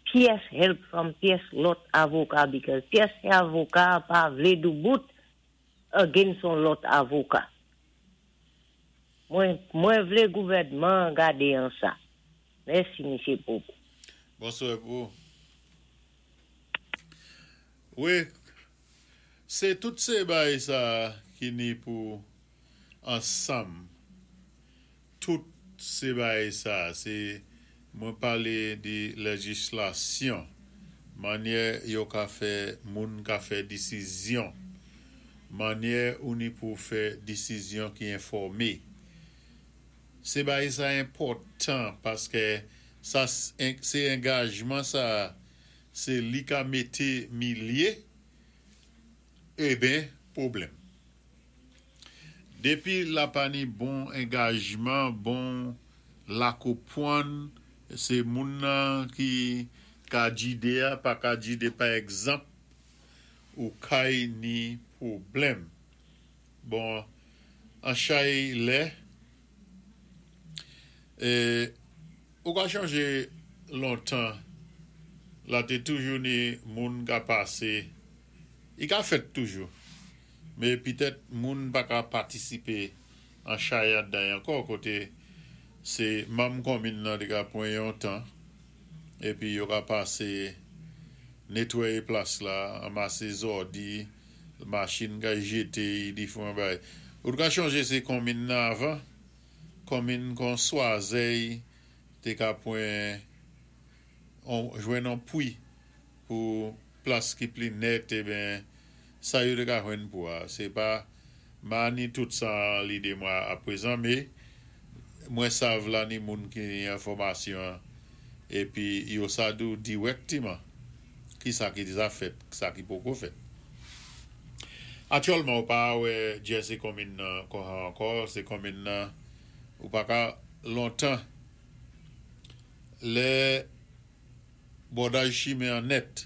pyès help from pyès lòt avoka, because pyès avoka pa vlé doubout against son lòt avoka. Mwen, mwen vlé gouvèdman gadé an sa. Mèsi, Misyé Popo. Bonswè pou. Wi, sé tout sé bagay sa ki ni pou ansanm. Tout sé bagay sa, sé mwen palé di léjislasyon, mannyè yo ka fè moun ka fè désizyon, mannyè ou ni pou fè désizyon ki enfòmé. Sé bagay sa enpòtan paské sa sé angajman sa sé li ka mété milyé eben pwoblèm. Dépi la pa ni bon angajman, bon lakopwann, sé moun nan ki ka jidé a, pa ka jidé pa egzanp, ou kay ni pwoblèm. Bon, an chay lè, é, ou ka chanjé lontan, la té toujou ni moun ka pasé, i ka fèt toujou, mé pitèt moun pa ka patisipé an chay adan ankò koté sé manm konminn nan té ka pwan yon tan, épi yo ka pasé netwayé plas la, anmasé zòdi, machin ka jété, diféwan bagay. Ou ka chonjé sé konminn nan avan, konminn kon Swazey té ka pwan on, jwenn an pwi pou plas ki pli nèt, eben sa yo té ka jwenn pou a. Sé pa ma ni tout sa lidé mwen a prezan, mé mwen sav la ni moun ki ni enfòmasyon épi yo sa di ou dirèkteman ki sa ki déja fèt, sa ki poko fèt. Aktyèlman ou pa wè djè sé konminn nan kon ankò, sé konminn nan ou pa ka lontan lè bòdaj chimen an nèt.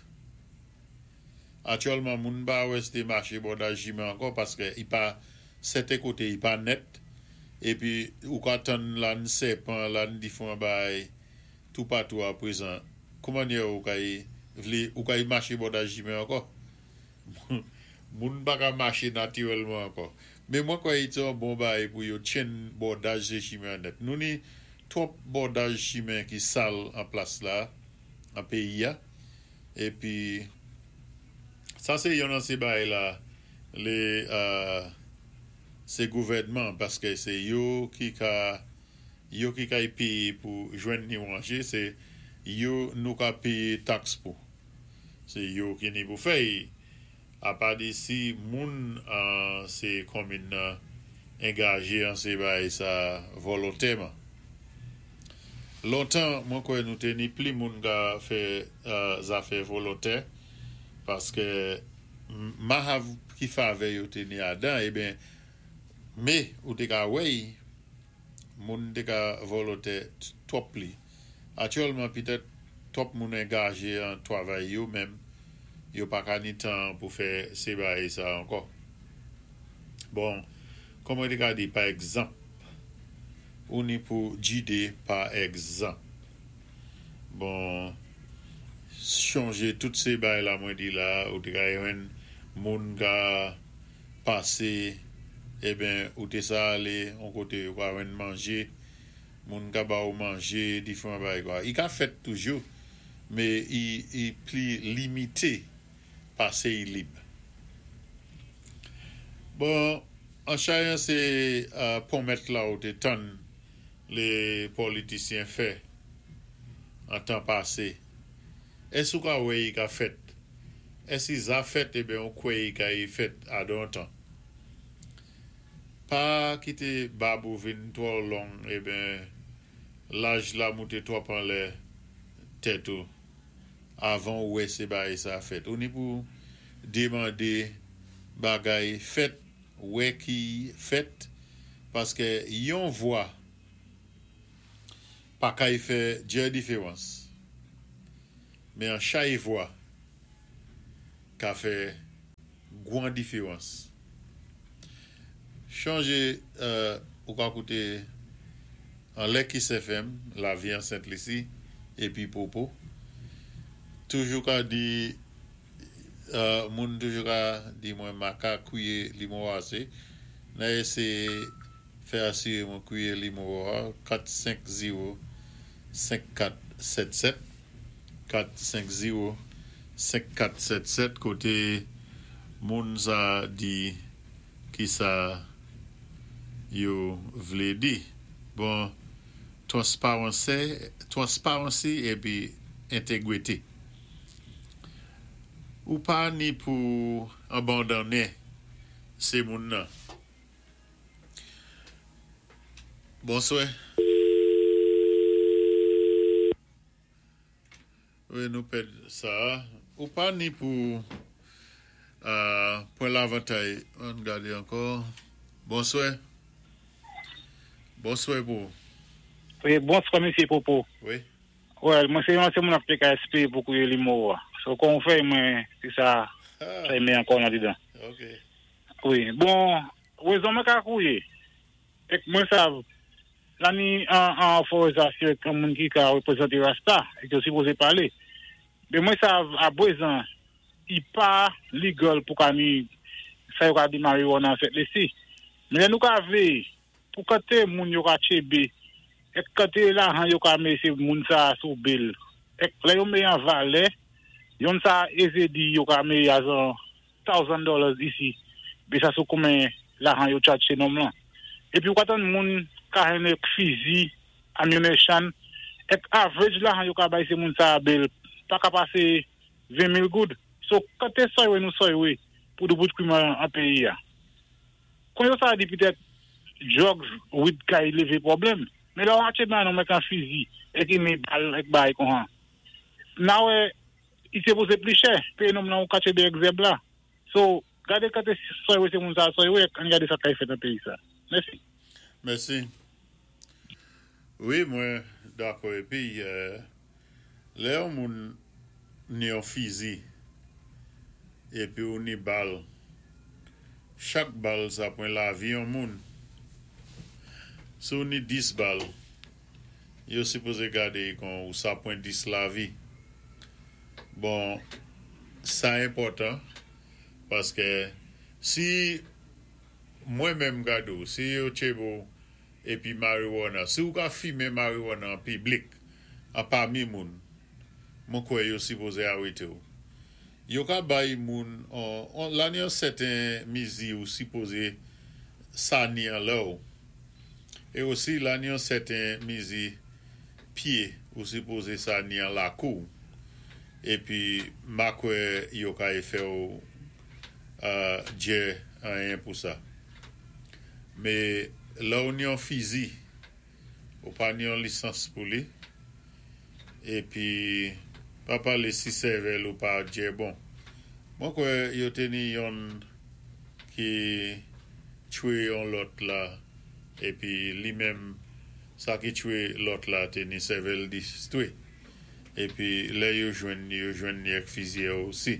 Aktyèlman moun pa wè sé maché bòdaj chimen ankò paské i pa sèten koté i pa nèt épi ou ka tann la n sèpan, la n diféwan bagay toupatou a prezan. Kouman ou ka vlé ou ka maché bòdaj chimen ankò? Moun pa ka maché natirèlman ankò. Mé mwen kwè i té yon bon bagay pou yo tchenn bòdaj sé chimen nèt. Nou ni twòp bòdaj chimen ki sal an plas la, an péyi a. Épi sa sé yon nan sé bagay la lé euh, sé gouvèdman paské sé yo ki ka yo ki ka péyé pou jwenn ni wanjé, sé yo nou ka péyé taks pou. Sé yo ki ni pou fè. Apa di si moun an sé konminn nan angajé an sé bagay sa volontèman. Lontan, mwen kwè nou té ni pli moun ka fè uh, zafè volontè paské ma hav ki favè yo té ni adan, eben mé ou té ka wèy moun té ka volontè twòp pli. Aktyèlman, pitèt twòp moun angajé an twavay yo menm, yo pa ka ni tan pou fè sé bagay sa ankò. Bon, kòm mwen té ka di, pa egzanp, ou ni pou jidé pa egzanp. Bon, chonjé tout sé bagay la mwen di la, ou té ka jwenn moun ka pasé, eben, ou té sa alé, on koté yo ka jwenn manjé, moun ka ba ou manjé, diféwan bagay kwa. I ka fèt toujou, mé i, i pli limité pasé i lib. Bon, an chayan sé uh, pwomèt la ou té tann lé politisyen fè an tan pasé. Ès ou ka wè i ka fèt? Ès i za fèt eben ou kwè i ka i fèt adan tan? Pa kité bab ou vin twò long eben laj la mouté twòp anlè tèt ou avan ou wè sé bagay sa fèt. Ou ni pou demandé bagay fèt, wè ki fèt, paské yon vwa pa kay fè djè diféwans. Mé an chay vwa ka fè gwan diféwans. Chonjé euh, ou ka kouté an lè Kiss F M, Lavi an Sent Lisi, épi Popo. Toujou ka di, euh, moun toujou ka di mwen ma ka kwiyé nimewo asé. Nan éséyé fè asiré mwen kwiyé nimewo a, kat senk zewo senk kat sèt sèt, kat senk zewo senk kat sèt sèt, koté moun sa di ki sa yo vlé di. Bon, transparency, transparency épi entégrité. Ou pa ni pou abandoné sé moun nan. Bonswè. Wi, nou pèd sa. Ou pa ni pou euh, pwan lavantay. Ann gadé ankò. Bonswè. Bonswè pou. Wi, bonswa, misyé Popo. Wi. Wè, mwen sé yon sé moun ap K S P pou kouwé nimewo. So kon fè mwen si sa sa mé ankò ladan. OK. Wi, bon, wézon mwen ka kouwé. Ek mwen sav la ni an an òfòrizasyon kon moun ki ka wépwézanté Rasta é yo sipozé palé. Mé mwen sav a pwézan i pa legal pou ka ni sa yo ka di marijuana an Sent Lisi. Mé lè nou ka vlé pou kanté moun yo ka tchébé ek kanté lajan yo ka mé sé moun sa sou bail. Ek lè yo mé an valè, yon sa ézé di yo ka mé azan thousand dollars isi. Bé sa sou koumen lajan yo charge sé nonm lan. Épi ou ka tann moun ka jwenn fizi, ammunition, ek average lajan yo ka bay sé moun sa bail, pa ka pasé ven mil goud. So kanté soywe nou soywe pou doubout krim an, an péyi a. Kon yo sa di pitèt drugs weed ka lévé pwoblèm. Mé la ou atché ban nou mèk an fizi é ki ni bal ek bay kon han. Na wè, i sipozé pli chè, péyé nonm lan ou ka tchébé ek zèb la. So, gadé kanté soywe sé moun sa soywe, ann gadé sa kay fèt an péyi sa. Mèsi. Mèsi. Wi, mwen dakò épi euh, lè yon moun ni yon fizi épi ou ni bal, chak bal sa pwan lavi yon moun. Si ou ni dis bal, yo sipozé gadé kon ou sa pwan dis lavi. Bon, sa enpòtan paské si mwen menm gado, si yo tchébé ou épi marijuana, si ou ka fimen marijuana an piblik, an pami moun, mwen kwè yo sipozé arété ou. Yo ka bay moun, on, on, la ni yon sèten mizi ou sipozé sa ni an lè ou. É osi la ni yon sèten mizi pyé ou sipozé sa ni an lakou. Épi ma kwè yo ka y fè ou uh, djè anyen pou sa. Mé la ou ni yon fizi, ou pa ni yon lisans pou li, épi pa palé si sèvèl ou pa djè bon. Mwen kwè yo té ni yon ki tchwé yon lòt la, épi li menm sa ki tchwé lòt la té ni sèvèl distwé. Épi lè yo jwenn ni, yo jwenn ni ek fizi osi.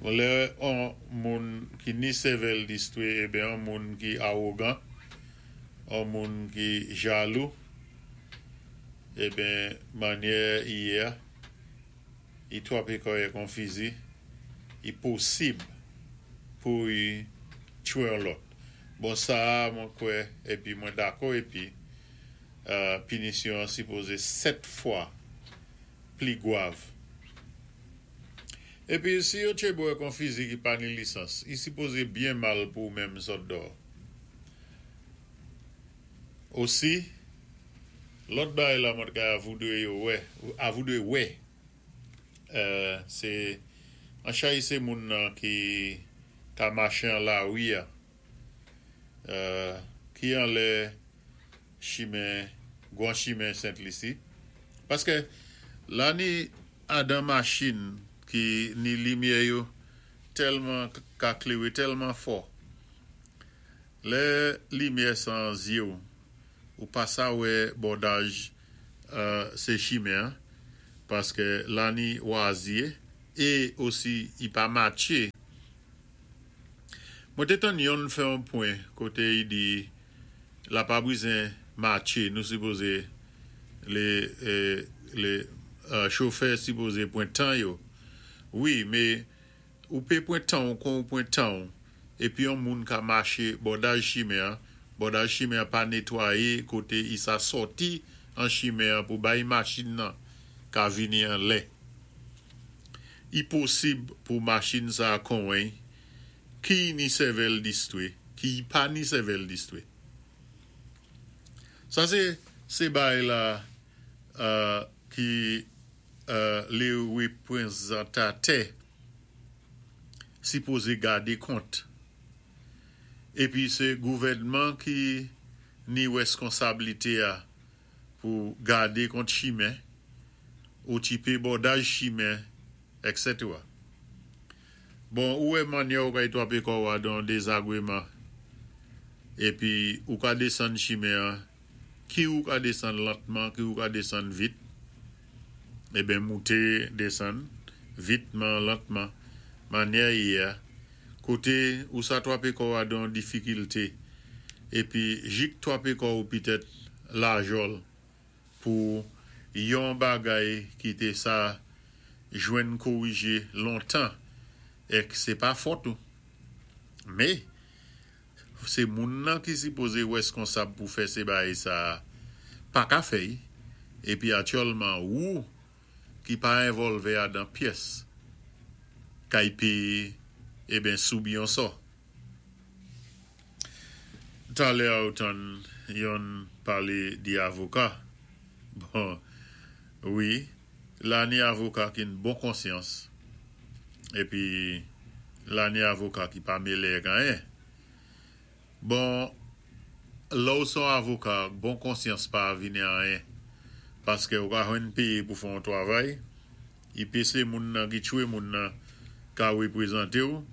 Bon, lè an moun ki ni sèvèl distwé, ében an moun ki awogan, an moun ki jalou, ében manyè yé, i twapé kò'y kon fizi, i posib pou y tchwé an lòt. Bon, sa mwen kwè, épi mwen dakò, épi euh, pinisyon sipozé sèt fwa pli gwav. Épi si yo tchébo kon fizi ki pa ni lisans, i sipozé byen mal pou menm sòt dò. Osi, lòt bay la mwen ka avoudwe yo wè, avoudwe wè, euh, sé an chay sé moun nan ki ka maché an lari a, euh, ki an lè chimen, gwan chimen Sent Lisi. Paské la ni adan machin ki ni limyè yo tèlman ka kléwé tèlman fò. Lè limyè san zye ou, ou pa sa wè bòdaj euh, sé chimen, Paski la ni wazyé é osi i pa matché. Mwen té tann yonn fè on pwen koté i di la pa bizen matché, nou sipozé lé, euh, lé euh, chofè sipozé pwan tan yo. Wi, mé ou pé pwan tan ou kon ou pwan tan épi yon moun ka maché bòdaj chimen, bòdaj chimen pa nétwayé koté i sa sòti an chimen pou bay machin nan ka vini an lè. I posib pou machin sa konwen ki ni sèvèl distwé, ki pa ni sèvèl distwé. Sa sé sé bay la euh, ki euh, lé wépwézantatè sipozé gadé kont. Épi sé gouvèdman ki ni wèskonsablité a pou gadé kont chimen, okipé bòdaj chimen, et cetera. Bon, ou wè mannyè ou ka twapé kò ou dan dézagwéman épi ou ka désann chimen an, ki ou ka désann lantman, ki ou ka désann vit, eben mouté désann, vitman, lantman, mannyè yé, koté ou sa twapé kò ou dan difikilté, épi jik twapé kò ou pitèt lajòl pou yon bagay ki té sa jwenn kowijé lontan, ék sé pa fòt ou. Mé, sé moun nan ki sipozé wèskonsab pou fè sé bagay sa pa ka fè, épi aktyèlman ou ki pa envòlvé adan pyès, kay péyé, eben soubi yon sò. Talè ou tann yon palé di avoka. Bon, wi, la ni avoka ki ni bon konsyans, épi la ni avoka ki pa mélé anyen. Bon, lè ou son avoka, bon konsyans pa vini anyen. Paski ou ka jwenn péyé pou fè yon twavay, i pé sé moun nan ki tchwé moun nan ka wépwézanté ou,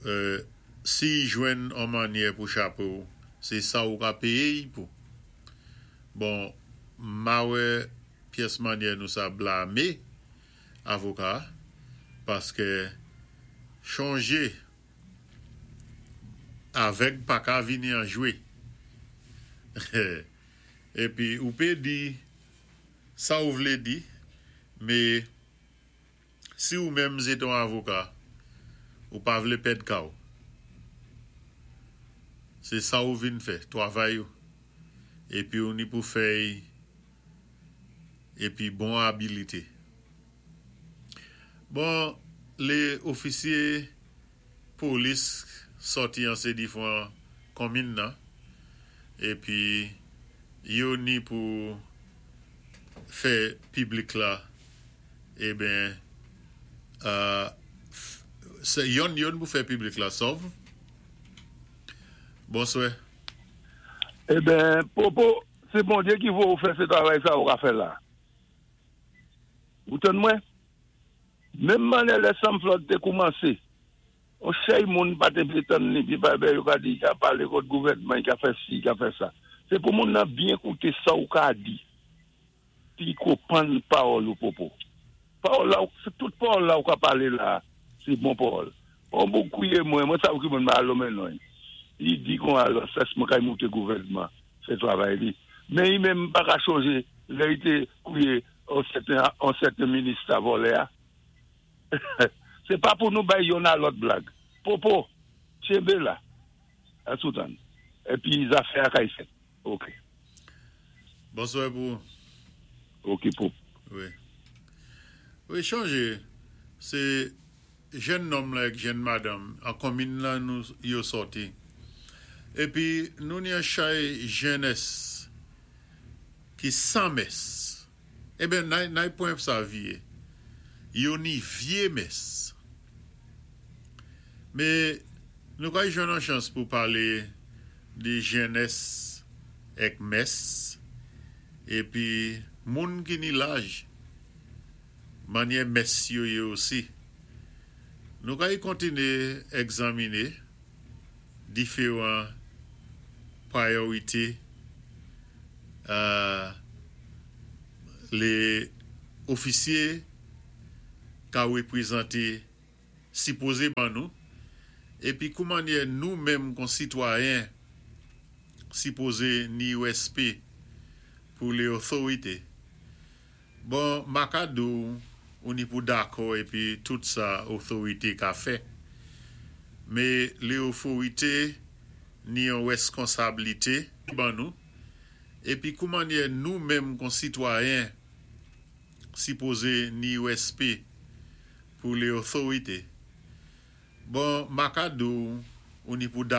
euh, si jwenn an mannyè pou chapé ou, sé sa ou ka péyé pou. Bon, ma wè pyès mannyè nou sa blamé avoka, paski chonjé avèg pa ka vini an jwé. Épi ou pé di sa ou vlé di, mé si ou menm sé ton avoka, ou pa vlé pèd ka ou. Sé sa ou vin fè, twavay ou. Épi ou ni pou fè épi bon abilité. Bon, lé ofisyé polis sòti an sé difwan konmin nan, épi yo ni pou fè piblik la, eben, euh, sé yon yon pou fè piblik la sòv. Bonswè. Eben, Popo, sé Bondyé ki voyé ou fè sé twavay sa ou ka fè la. Ou tann mwen? Menm mannyè lè Sam Flood té koumansé, on chay moun pa té vlé tann ni, pi pa ben yo ka di, ka palé kont gouvèdman, ka fè si, ka fè sa. Sé pou moun nan byen kouté sa ou ka di. Pi konpwann pawòl ou, Popo. Pawòl la, sé tout pawòl la ou ka palé la, sé bon pawòl. On boug kouwé mwen, mwen sav ki moun ma alo men non. I di kon alò, sa mwen kay mouté gouvèdman, fè twavay li. Mé i menm pa ka chonjé, lè i té kouwé on sèten, on sèten minis ta vòlè a. Sé pa pou nou bay yonn a lòt blag. Popo, tchenbé la. A soutan. Épi zafè a kay fèt. Ok. Bonswè pou. Ok, Popo. Wi. Wi, chonjé, sé jenn nonm la ak jenn madanm, an konmin la nou yo sòti. Épi nou ni an chay jènès ki san mès. Eben, nay, nay pwen sa vyé. Yo ni vyé mès. Mé nou kay jwenn an chans pou palé di jènès ek mès, épi moun ki ni laj, mannyè mès yo yé osi. Nou kay kontiné egzaminé diféwan prayorité euh, lé Ofisyé ka wépwézanté sipozé ban nou épi koumannyè nou menm kon sitwayen sipozé ni wèspé pou lé otorité. Bon, ma ka di-w ou ni pou dakò épi tout sa otorité ka fè. Mé lé otorité ni yon wèskonsablité ban nou épi koumannyè nou menm kon sitwayen sipozé ni wèspé pou lé otorité. Bon, ma ka di-w ou ni pou dakò